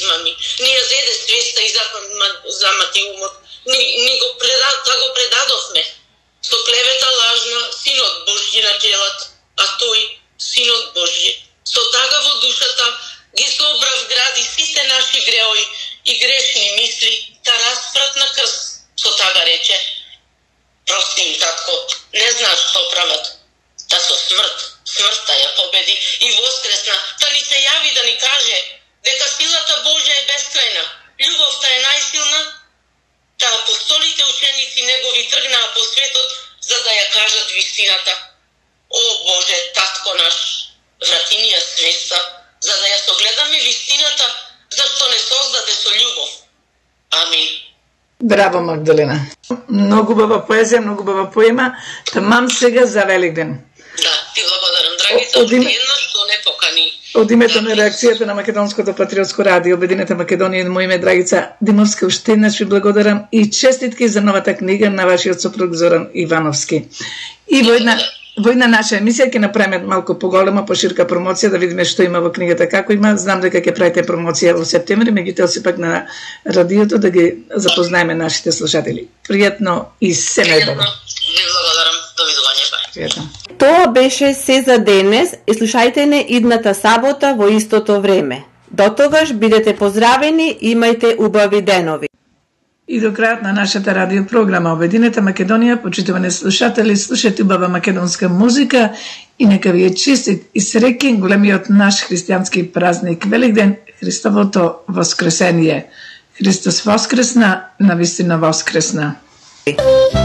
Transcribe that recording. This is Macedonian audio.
мами. Ни ја зеде свеста и замати умот. Ни го предадовме. Со клевета лажна, синот Божји на челат, а тој, синот Божји, со тага во душата ги собрав гради сите наши греои и грешни мисли, да распрат на крст. Со тага рече: прости им, татко, не знаеш што прават. Да со смртта ја победи и воскресна, да ни се јави да ни каже дека силата Божја е бескрајна, љубовта е најсилна, да апостолите ученици негови тргнаа по светот за да ја кажат вистината. О Боже, татко наш, врати ни ја свеста, за да ја согледаме вистината, зашто не создаде со љубов. Амин. Браво, Магдалена. Многу убава поезија, многу убава поема. Тамам сега за Великден. Да, ти благодарам, драгица, уште една што не покани. Од името на реакцијата на Македонското патриотско радио, Обединета Македонија, и моје име Драгица Димовска, уште еднаш ви благодарам и честитки за новата книга на вашиот сопруг Зоран Ивановски. И во една наша емисија ќе направиме малку поголема, поширка промоција да видиме што има во книгата, како има. Знам дека ќе правите промоција во септември, меѓутоа сепак на радиото да ги запознаеме нашите слушатели. Пријатно и се најдобро. Ви благодарам. Довидување. Тоа беше се за денес и слушајте не идната сабота во истото време. До тогаш бидете поздравени, имајте убави денови. И до крајот на нашата радиопрограма Обединета Македонија, почитувани слушатели, слушате убава македонска музика и нека ви е честит и среќен големиот наш христијански празник Великден, Христовото воскресение. Христос воскресна, навистина воскресна.